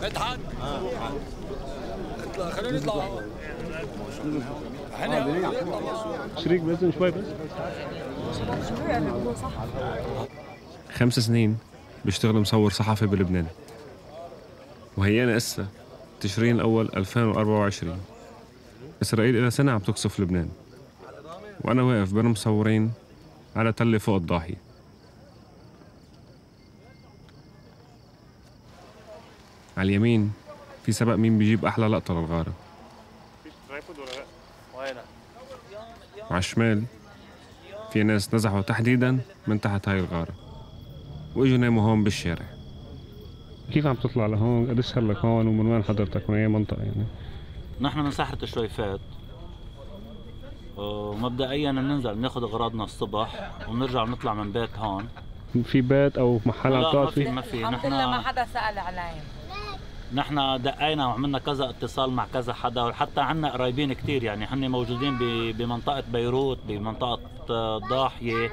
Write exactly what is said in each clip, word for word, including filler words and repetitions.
مدحت اطلع خلينا نطلع احنا شريك بإذن شوي بس. خمس سنين بيشتغل مصور صحفي بلبنان، وهيانا إسا تشرين الأول ألفين وأربعة وعشرين. إسرائيل إلى سنة عم تقصف لبنان، وأنا واقف بين مصورين على تلة فوق الضاحية. على اليمين في سبق مين بيجيب أحلى لقطة للغارة، وعلى الشمال في ناس نزحوا تحديداً من تحت هاي الغارة وإجوا ناموا هون بالشارع. كيف عم تطلع لهون؟ قديش صار لك هون ومن وين حضرتك؟ من أي منطقة يعني؟ نحن من ساحة الشويفات، ومبدئيا بننزل بناخذ اغراضنا الصبح وبنرجع بنطلع من بيت هون. في بيت او محل عم تقعد فيه؟ ما في. الحمد لله ما حدا سأل علي. نحن دقينا وعملنا كذا اتصال مع كذا حدا، وحتى عنا قرايبين كتير يعني هن موجودين بمنطقة بيروت، بمنطقة الضاحية،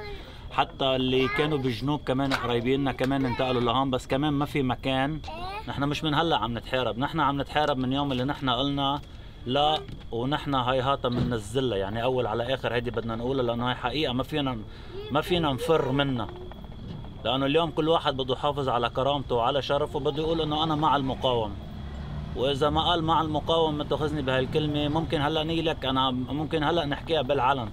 حتى اللي كانوا بالجنوب كمان قرايبيننا كمان انتقلوا لهون، بس كمان ما في مكان. نحن مش من هلا عم نتحارب، نحن عم نتحارب من يوم اللي نحن قلنا لا، ونحن هاي هاتا بننزلها يعني اول على اخر. هيدي بدنا نقولها لانه هاي حقيقه ما فينا ما فينا نفر منها، لانه اليوم كل واحد بده يحافظ على كرامته وعلى شرفه، بده يقول انه انا مع المقاومه. واذا ما قال مع المقاومه ما تاخذني بهالكلمه، ممكن هلا نيلك انا ممكن هلا نحكيها بالعلن.